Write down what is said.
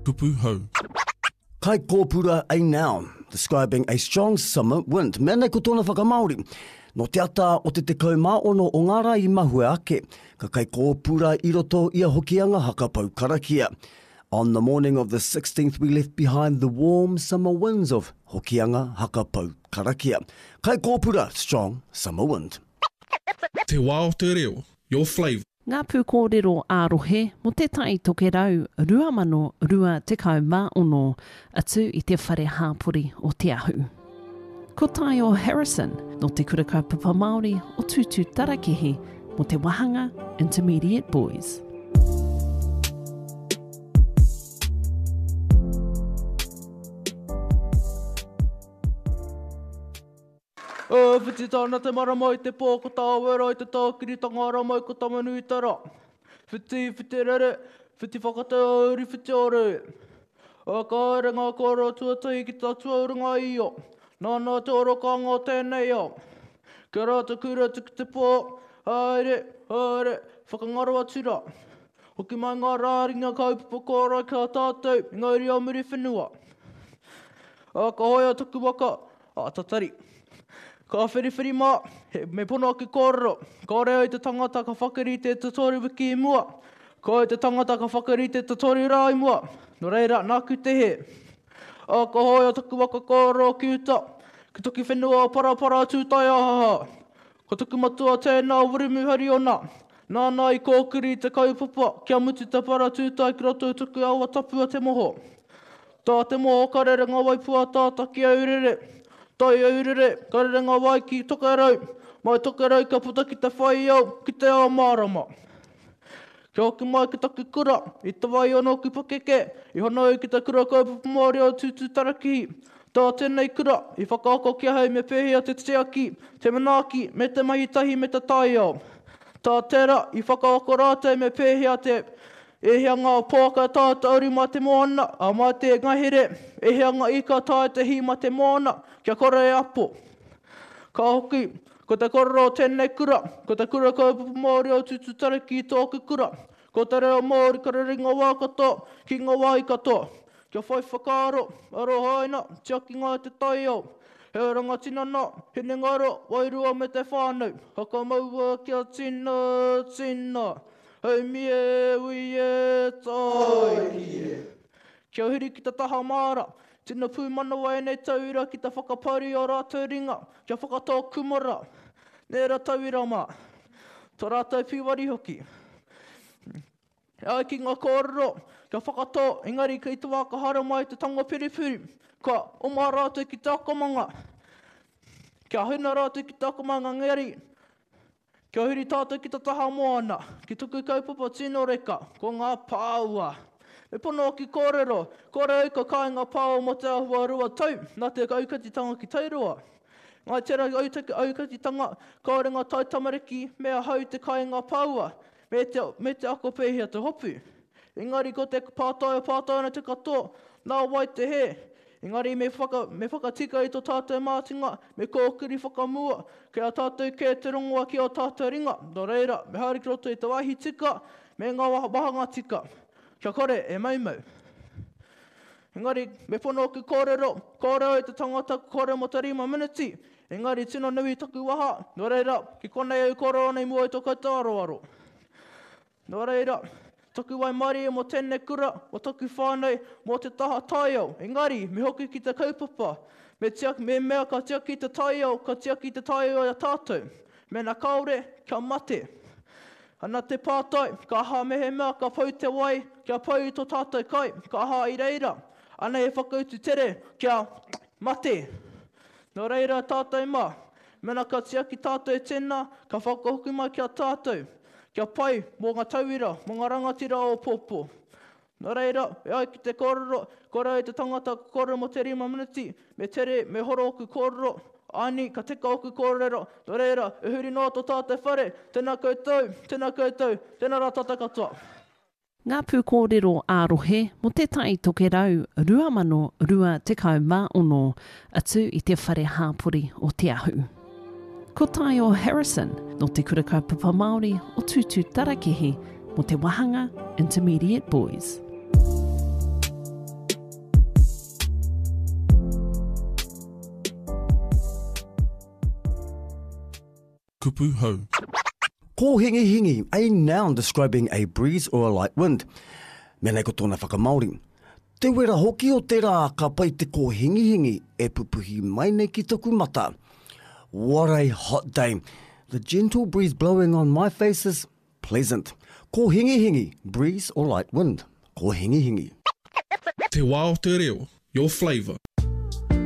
Kupu hou. Kaikōpura a noun, describing a strong summer wind. Mea nei ko tōna whakamāori. Nō te ata o te 16 o ngā rā i mahue ake, ka kaikōpura i roto i a Hokianga haka pou karakia. On the morning of the 16th we left behind the warm summer winds of Hokianga haka pou karakia. Kaikōpura, strong summer wind. Te wā o te reo, your flavour. Ngā pūkōrero ā-rohe mō Te Tai Tokerau 2026, atu i te Whare Hāpori o Te Ahu. Ko Taio Harrison, nō Te Kura Kaupapa Māori o Tūtūtarakihi mō te wāhanga Intermediate Boys. E whiti tāna te marama i te pō ko Tāwera i te tākiritanga ara mai ko Tamanuiterā. Whiti, whiti rere, whiti whakateauri, whiti ore. E ka haere ngā kōrero tuatahi ki te atua o runga i Io. Nāna te orokānga o tēnei ao. Kia rā te kura tuku te pō, haere, haere, whakangaro atu rā. Hoki mai ngā rāringa kaupapa kōrero ki a tātou i ngā uri o Muriwhenua. Ā, ka hoea taku waka, ā, tatari. Ka whiriwhiri mā, he, me pono ake kōrero, kāore au i te tangata ka whakarite te toru wiki i mua, kāore te tangata ka whakarite te toru rā i mua, nō reira, nāku te hē. Ā, ka hoea taku waka kōrero ki uta, ki taku whenua o Parapara Tūtaiahaha. Ko taku matua tēnā o Wiremu Hariona, nāna i kōkiri i te kaupapa kia mutu te para tūtai ki roto i taku awa tapu a Te Moho. Tā Te Moho ka rere ngā wai pūataata ki Aurere, tai Aurere ka rere ngā wai ki Tokerau, mai Tokerau ka puta ki te whai ao, ki te ao mārama. Kia hoki mai ki taku kura, i te wai o nōku pakeke, i hono au ki te Kura Kaupapa Māori o Tūtūtarakihi. Tā tēnei kura, i whakaako ki ahau me pēhea te tiaki, te manaaki, me te mahi tahi me te taiao. Tā tērā, i whakaako rātou me pēhea te, ēhea ngā pouaka taea te aru mā te moana, ā, mā te ngahere, ēhea ngā ika taea te hī mā te moana, kia kore e apo. Ka hoki, Ko te korero o tēnei kura, ko te Kura Kaupapa Māori o Tūtūtariki tōku kura. Ko te reo Māori ka rere ngā wā katoa, ki ngā wāhi katoa. Kia whai whakaaro, arohaina, tiakinga i te taiao. He oranga tinana, hinengaro, wairua me te whānau. Whakamaua kia tina, tina. Haumi e, ui e, tāiki e. Kia huri ki te taha māra, tino pūmanawa ēnei tauira ki te whakaparu i ō rātou ringa, kia whakatō kumara, nēra tauira mā, tō rātou pīwari hoki. E ai ki ngā kōrero, kia whakatō, engari kei te wā ka haere mai te tango purupuru, ka oma rātou ki te akomanga, kia huna rātou ki te akomanga engari, Kia huri tātou ki te taha moana, ki tuku kaupapa tino reka, ko ngā pāua. Me pono hoki kōrero, kore au ka kai ngā pāua mō te āhua rua tau, nā te aukatitanga ki Tairua. Ngai tērā aukatitanga, kāore ngā taitamariki me ahau te kai ngā pāua, me te, me te ako pēhea te hopu. Engari ko te pātai e pātai ana te katoa, nā wai te hē? Engari me whaka, me whakatika i tō tātou mātinga, me kōkiri whakamua, kei a tātou kē te rongoa ki ō tātou ringa, nō reira, me haere ki roto i te wāhi tika, me ngā wāhanga tika, kia kore e maumau. Engari, me pono ōku kōrero, kāore au i te tangata kore mō te rima miniti, engari tino nui taku waha, nō reira, ki konei au kōrero nei mua i tō koutou aroaro. Nō reira, taku waimarie mō tēnei kura, mō taku whānau, mō te taha taiao. Engari, me hoki ki te kaupapa. Me tiaki, me mea ka tiaki te taiao, ka tiaki te taiao i a tātou. Mēnā kāore, kia mate. Ana te pātai, ka aha mehemea ka pau te wai, kia pau i tō tātou kai, ka aha i reira? Anei he whakautu tere, kia mate. Nō reira tātou mā, mēnā ka tiaki tātou tēnā, ka whakahoki mai ki a tātou. Kia pai mō ngā tauira, mō ngā rangatira o pōpō. Nō reira, e ai ki te kōrero, kore ai te tangata ka kōrero mō te rima miniti, me tere, me horo ōku kōrero, āni, ka tika ōku kōrero, nō reira, e huri noa tō tātou whare, tēnā koutou, tēnā koutou, tēnā rā tātou katoa. Ngā pūkōrero ā-rohe mō Te Tai Tokerau 2026, atu i te Whare Hāpori o Te Ahu. Ko Taio Harrison, nō Te Kura Kaupapa Māori o Tūtūtarakihi mō te wāhanga Intermediate Boys. Kupu hou. Kōhingihingi, a noun describing a breeze or a light wind. Mea nei ko tōna whakamāori. Te wera hoki o te rā ka pai te kōhingihingi e pupuhi mai nei ki taku mata. What a hot day. The gentle breeze blowing on my face is pleasant. Kōhingihingi, breeze or light wind. Kōhingihingi. Te wā o te reo, your flavour.